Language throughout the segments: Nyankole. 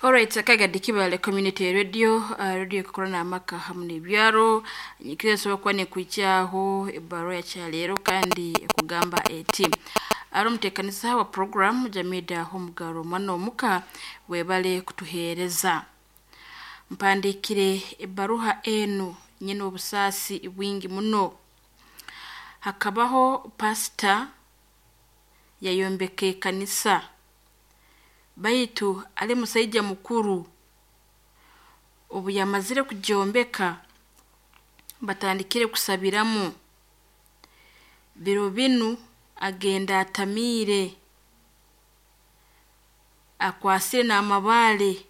Alright, akagadi kibale community radio, radio ekukora n'amaka hamu n'ebyaro. Nyikiriza nsobola kuba nekuhikyaho ebbaruha ya kyaleero kandi ekugamba eti ari omuteekanisa wa program Jamida Omugaro omwana omuka webale kutuheereza. Mpandiikire ebbaruha enu nyine obusaasi bwingi muno. Hakabaho pasita yayombeka ekanisa baitu ali musaija mukuru. Obu yamazire kugyombeka batandikire kusabiramu. Biro binu agenda atamiire, akwasire n'amabaale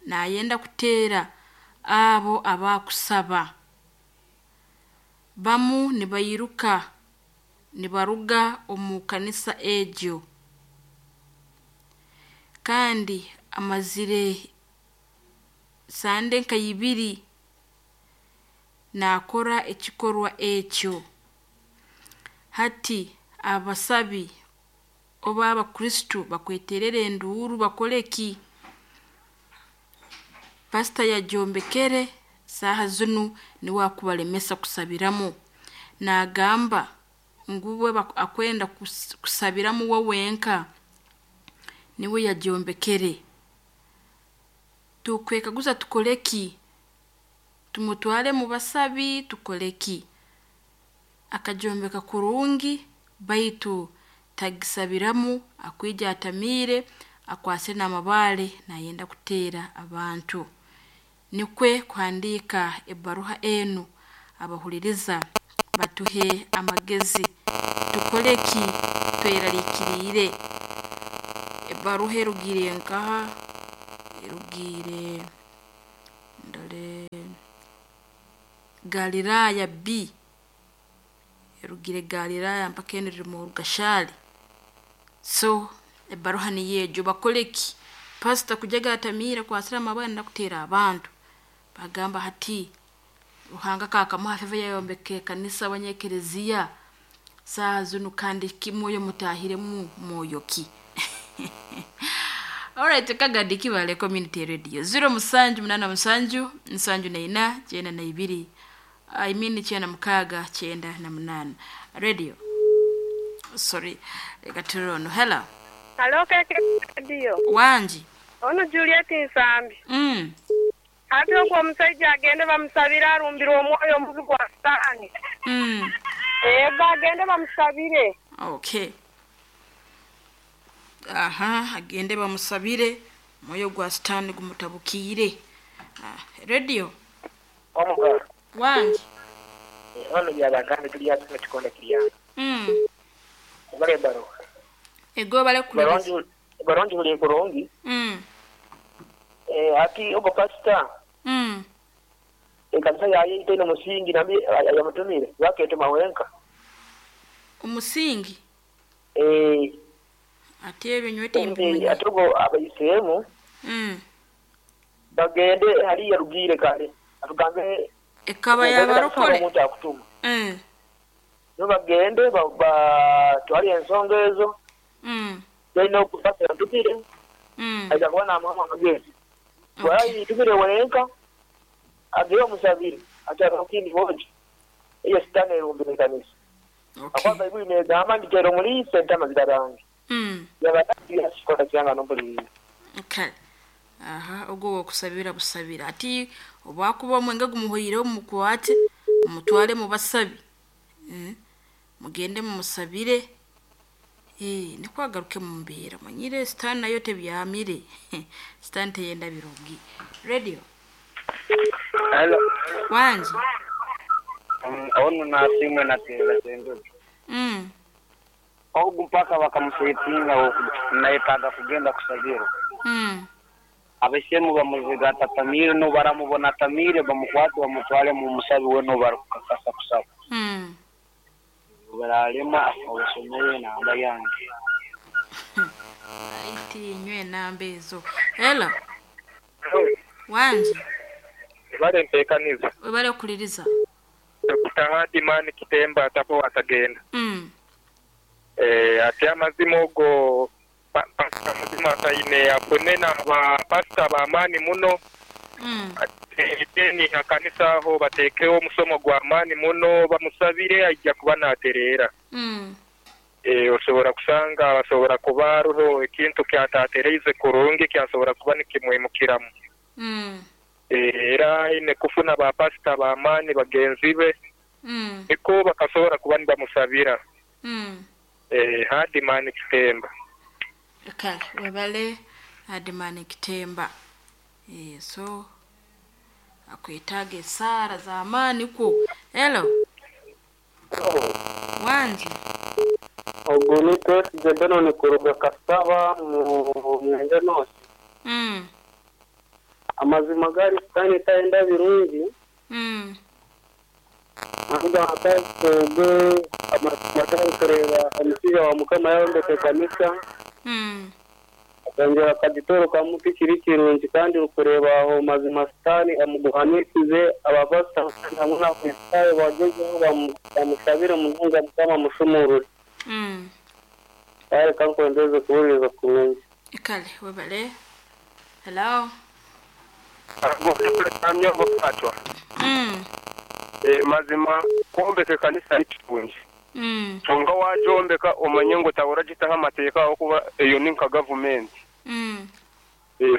nayenda kuteera abo abakusaba. Bamu nibairuka nibaruga omu kanisa egyo. Kandi amazire sande nka ibiri naakora ekikorwa ekyo. Hati abasabi oba abakristo bakweterera enduuru bakore ki? Pasita yagyombekere saaha zinu niwe akubalemesa kusabiramu. Naagamba ngu we akwenda kusabiramu we wenka niwe yagyombekere. Tukwekaguza tukore ki? Tumutware mu basabi tukore ki? Akagyombeka kurungi baitu tagisabiramu akwija atamiire akwasire n'amabaale nayenda kuteera abantu. Nikwe kuhandiika ebbaruha enu abahuliriza batuhe amagezi tukore ki tweraliikiriire. Ebbaruha erugiire nkaha? Erugiire ndore Galiraaya B, erugiire Galiraaya mpaka enu eri mu Rugashari. So ebbaruha niyo egyo bakore ki? Pasita kujaga atamiire akwasire amabaale nayenda kuteera abantu. Bagamba hati Ruhanga kakamuha favor yayombeka ekanisa abanyekereziya saaha zinu kandi ki mwoyo mutaahiremu mwoyo ki? Alright, Kagadi Kibale Community Radio 0787 74 92 I mean 96 98 radio sorry leka turore ono. Hello. Halo KK Radio. Wangi. Ono Juliet Nsambi. Ate ogwo omusaija agende bamusabire alumbirwe omwoyo omubi gwa sitaani. Eego agende bamusabire. Okay. Aha, agende bamusabire omwoyo gwa sitaani gumutabukiire. Ah, radio. Omugalo. Wangi. Ono Byabagambi tuli ghano mu kikonde kiri ghano. Webale ebbaluwa. Ego webale kuwuliriza. Ebbaluwa ngighuliire bulungi. Ati ogwo pasita ekanisa yayeita inho musingi nambi yamutumire lwaki yetuma wenka? Omusingi? Eeh. Ati ebyo nyowe timbimanyire. Ati ogwo abaiseemu bagende haliya Rugire kale atugambe Ekaba ya barokole. Omuntu akutuma. Nibo bagende batwale ensonga ezo. Then ogu pasita ntumire aija kuba namuwamu amagezi. Bwaba yitumire wenka ageyo omusabire ati hariho ekindi bwojo eyo sitani erumbire ekanisa. Ahakuba Baibuli negamba nti tera omuriisa entama zirarange. Yaba yakikora kyanga nompuliriire. Kale aha ogwo wokusabira busabira ati obwakuba omwenge gumuhweireho mumukwate mumutware mubasabi mugende mumusabire nikwo agaruke mumbeera omanyire sitaani nayo tebyamire sitaani teyenda birungi. Radio. Hello. Wangi. Ono Nasiimwe Nateera Ssenjojo. Ogu mpaka bakamusetinga nayetaaga kugenda kusabirwa. Abaisemu bamuziga atatamiire n'obu baramubona atamiire bamukwate bamutwale mu musabi weena ou barikukakasa kusaba. Obu baraalema obasomere enamba yange. Aiti inywe enamba ezo. Hello. Wangi. Webale ntekaniza. Webale kuhuliriza. Dokita Hardman Kitemba Atafo Atagenda. Eeh ati amazima ogwo Pasita Muzima Asaine afune na ba pasita b'amaani muno. Then ha kanisa aho bateekeho omusomo gw'amaani muno bamusabire aija kuba naatereera. Osobora kusanga asobora kuba hariho ekintu kyatatereize kurungi kyasobora kuba nikimwimukiramu. Era aine kufuna ba pasita b'amaani bagenzi be niko bakasobora kuba nibamusabira. Hardman Kitemba. Kale webale Hardman Kitemba. So akwetaaga esaara z'amaani kwo. Hello. Wangi. Ogu ni Twesigye Benon kuruga Kasaba mu Mwenge North. Amazima gari sitaani tayenda birungi. Ahuga twebwe amazima gari kureba omushaija wa Mukama yayombeka ekanisa. Akongera akagitorokamu tikiri kirungi kandi orikureeba aho mazima sitaani amuguhanisize abapasita hamwe n'abakristaayo bagyezeho bamusabire munonga Mukama amushumurure. Kare kankwendeze kuhuririza kurungi. Kale webale. Hello. Mazima kwombeka ekanisa ni kirungi. Kyonka wagyombeka omanye ngu otahora ogitaho amateeka ahabw'okuba eyo ni nka gavumenti.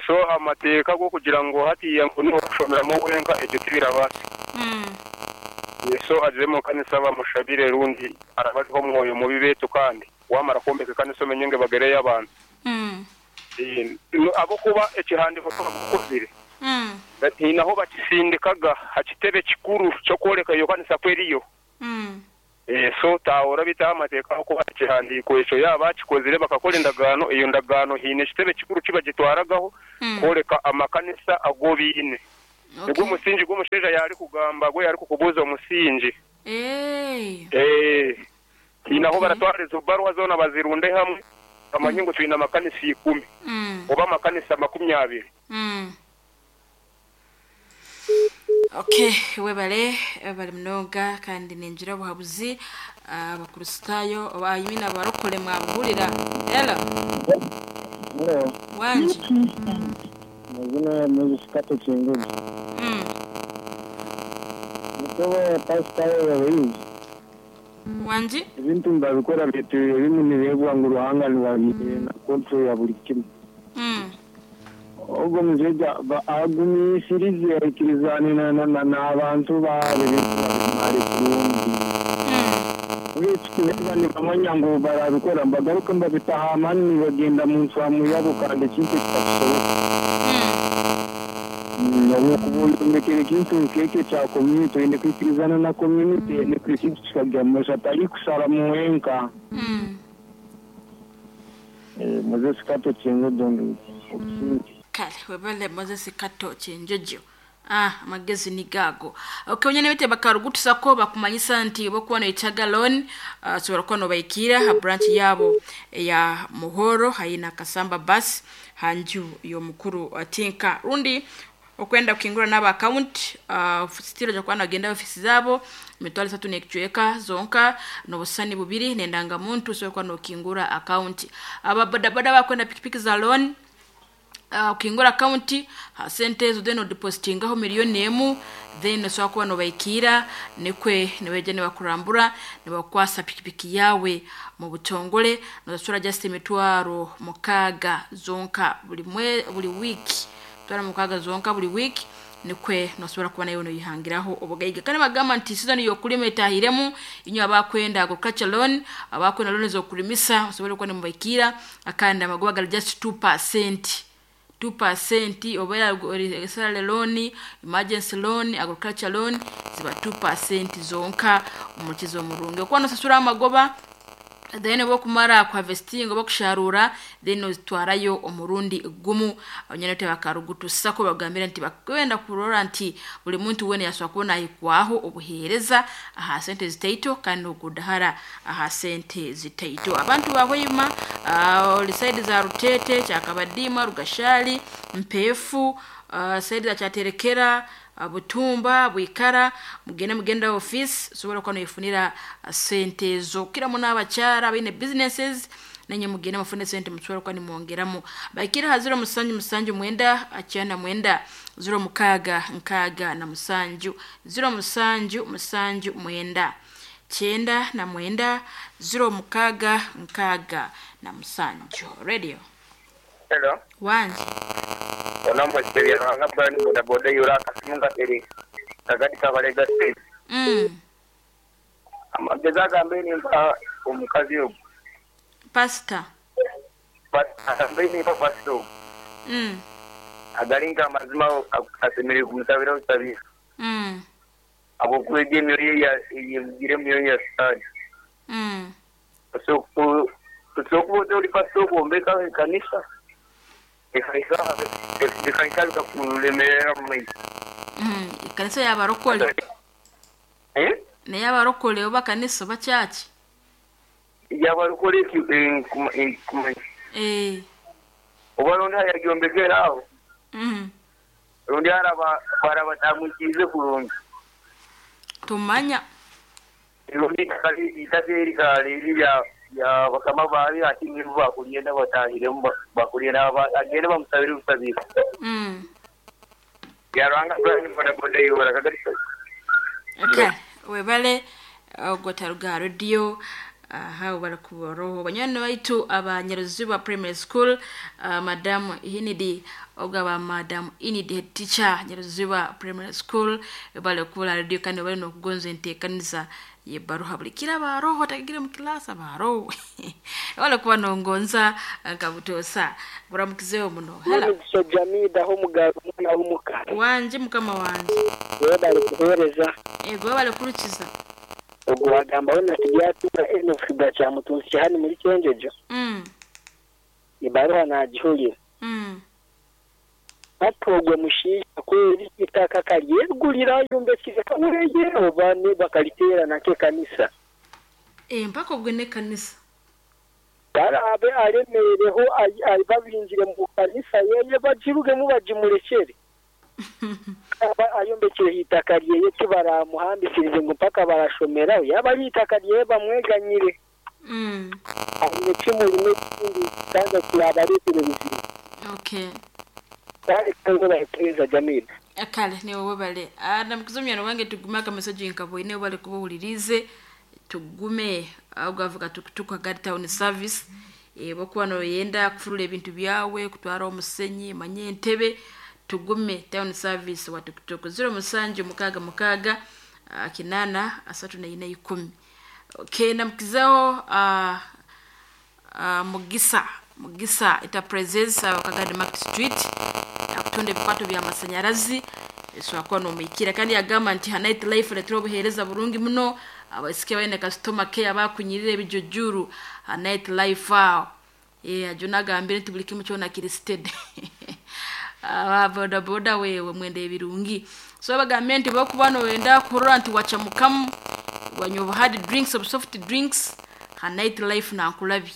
So amateeka g'okugira ngu hatiiya ngu niho orikushomeramu wenka ekyo tibirabaasa. So agire omu kanisa bamushabire rundi araba ariho omwoyo mubi beitu kandi wamara kwombeka ekanisa omenye ngu ebagereyo abantu. Ahabw'okuba ekihandiiko kibakukozire hiine ahu bakisindikaga aha kitebe kikuru ky'okworeka eyo kanisa ku eriyo. So tahora bitaho amateeka ahabw'okuba ekihandiiko ekyo yaaba bakikozire bakakora endagaano, eyo ndagaano hiine ekitebe kikuru kibagitwaragaho kworeka amakanisa agu baine. Nigwo omusingi gw'omushaija yaarikugamba gwe yaarikukubuuza omusingi. Hiine ahu baratwara ezo baruha zoona bazirunde hamwe bamanye ngu twine amakanisa 10 oba amakanisa 20. Okay, webale webale munonga kandi ningira obuhabuzi abakristaayo oba I mean abarokore mwabuhurira. Hello. Hello. Wangi. Mazina Moses Kato Chinguzi. Nikoba pastor wabayizi. Wangi. Ebintu mbabikora bitu ebimu nibirebwa ngu Ruhanga niwe na control ya buri kimwe. Ogwo mushaija agumisirize aikirizane n'abantu baabo babimare kurungi. Uretse nibamanya ngu barabikora mbagaruke mbabitaha amaani nibagenda mu ncwamu yabo kandi ekintu kitakusoboka. Okuyombekera ekintu nk'ekyo kya community oine kwikirizana na community nikwo ekintu kikagya omu maisho atari kusharamu wenka. Moses Kato Chingudo. Kale webale Moses Kato Chinjojo. Amagezi ni gago. Okay, onyene bete bakarugutusako bakumanyisa nti bokuba noyetaga loan sobola kuba nobaikira ha branch yabo ya Muhoro haina Kasamba bus hanju y'omukuru atinka rundi okwenda kukingura naba account stilo ja kuba nagenda ofisi zabo mitwalo 3 n'ekicweka zonka n'obusani bubiri n'endanga muntu sobola kuba nokingura account. Aba bodaboda bakwenda pikipiki za loan ukingura account sente ezo then odepositingaho 1,000,000 then osobola kuba nobaikira nikwe nibeija nibakurambura nibakwasa pikipiki yawe mu butongole nosasura just 6,000 zonka buli wiki 6,000 zonka buli wiki nikwe nosobola kuba nayo noyihangiraho obugaiga. Kandi bagamba nti season y'okulima etahiremu inywe abakwenda agriculture loan abakwenda loan z'okulimisa osobola kuba nimubaikira akandi amagoba gali just 2%. 2% oba salary loan, emergency loan, agriculture loan ziba 2% zonka omukizo omurungi. Okuba nosasura amagoba then bokumara ku harvesting oba kusharura then ozitwarayo omurundi gumu. Abanyene tebakarugutusako bagambira nti bakwenda kurora nti buli muntu wene yaswa kubona ahikwaho obuheereza aha sente zitaito kandi okudahara aha sente zitaito. Abantu bahwima oli side za Rutete, Kyakabadima, Rugashali, Mpefu, side za Kyaterekera, Butumba, Bwikara, mugende mugenda office sobola kuba noyifunira sente ezo. Kira muno abakyara abaine businesses Nanye mugende mufune sente mutwara kwani mwongeramu. Bakira ha 0779 99 06 67 0779 99 06 67. Radio. Hello. Wanji. Onambo chiteria ranga brand boda boda yura kasimunga eri. Tagadi kabalega state. Amageza gambeni mpa omukazi ogu. Pastor. Pastor mpa pastor. Agalinga amazima asemerere kumusabira usabira. Abo kwege emyoyo ya yegire emyoyo ya sitani. So kuba ori pastor kuombeka ekanisa. Ekaisa bikakulemerera mu maiso. Ekanisa y'abarokole. Naye abarokole oba kanisa oba church? Y'abarokole oba rundi hayagyombekera aho. Rundi barabatamwikize kurungi. Tumanya. Rundi itaka kali ya bakama bari ati nibo bakugenda batahiremo bakugenda agende bamusabira ubusabira. Yaranga brand boda boda yora kagarisa. Okay, webale ogotaruga radio aha barakubaroho banyana baitu abanyaruziba primary school madam Inidi ogaba madam Inidi head teacher Nyaruziba primary school bale kula radio kandi bale no kugonza entekanisa ye baruha buli kira baroho tagira mu class baroho wala kuba nongonza kabutosa buramukizeyo muno. Hello Jamida ho mugabo mwana w'umuka wanje mukama wanje we bari kuhereza ego bale kurukiza ubwo wagamba we natijyatura eno fiba cya mutunsi hano muri Cyenjejo ibaruha nagihuriye batogwe mushisha kweri itaka karyegurira yumbekize kaburege obane bakalitera nake kanisa mpaka ubwo ne kanisa barabe aremereho ay babinjire mu kanisa yeye bajiruge mu bajimurekere aba ayombekire itaka ryeye kibaramuhambikirize ngo mpaka barashomera yaba ari itaka ryeye bamweganyire aine kimurimo kindi kandi kirabaretire bizima. Okay. Kale kangola epeza Jamila. Akale ni wowe bale. Namukizomya wange tugume aka message nkabo ine bale kubuhulirize tugume ugavuga tukutuka gari town service bokuba no yenda kufurula ebintu byawe kutwara omusenyi manye entebe tugume town service wa tukutuku 07 6 6 8 3 4 10. Okay, namukizao Mugisa Enterprises wakagadi Market Street akutonde bikwato bya masanyarazi so no mwikira kandi yagamba nti night life retro buhereza burungi muno abasike bayine customer care abakunyirire bijojuru night life aho ajo nagambire nti buli kimu kyona kiri steady aba boda boda wewe mwende birungi so bagambe nti bakubano wenda kurora nti wacha mukamu wanyoba hard drinks of soft drinks ha night life na nkulabi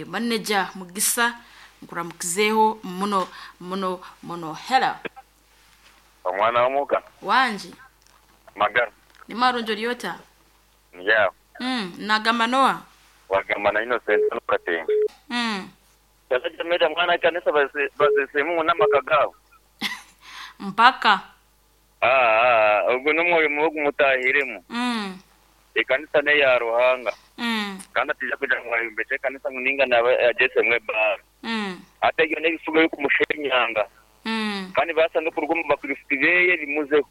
manager Mugisa nkuramukizeho muno muno muno. Hello omwana w'omuka wanje magara ni marunjo lyota yeah nagamba noa wagamba na Innocent Katenga sasa jamida mwana kanisa basesemu n'amaka gabo mpaka ubwo n'umwoyo mubi mutahiremo ikanisa ne ya Ruhanga kandi atija kugira ngo ayombeke kanisa nguninga nawe agese mwe bar ate yo nebifugo yo kumushenyanga kandi basa no kuruguma bakurifitibeye bimuzeho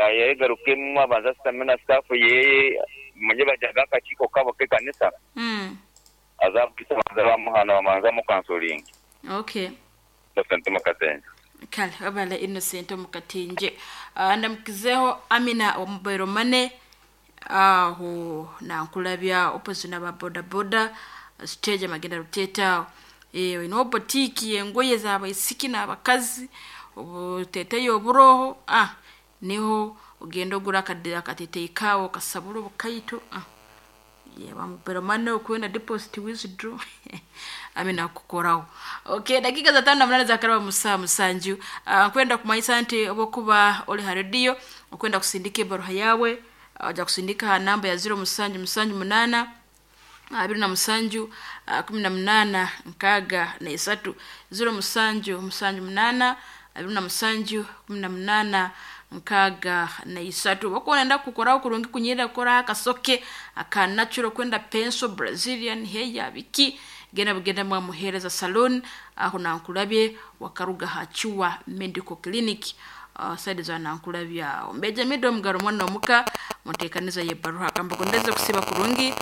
ayegarukemo abanza stamina staff yeye manye bajaga akakiko kabo ke kanisa azabwisa banza bamuhana bamanza mu counseling. Okay. Innocent Mukatenje. Kale abale Innocent Mukatenje. Ndamukizeho Amina wa mobile money aho nankulabya opposite na boda boda stage magenda ruteta ino boutique engoye z'abaisiki n'abakazi obuteteyo oburoho niho ugenda ogura akadira akateteye kawo kasabura obukaito bamubera mane okwenda deposit withdraw amina kukoraho. Okay, dakika za 58 za karaba musa musanju kwenda kumanyisa nti obokuba oli ha radio okwenda kusindika ebaruha yawe aja kusindika ha namba ya 07 7 8 27 18 63 07 78 27 18 63. Bakwenda kukoraho kurungi kunyirira kukora akasoke aka natural kwenda pencil Brazilian hair biki genda bugenda mwamuhereza salon aho nankulabye wakaruga hachiwa medical clinic saidi za nankulabye aho mbeja mido mugaro mwana omuka mutekaniza ye baruha kamba kondeze kusiba kurungi.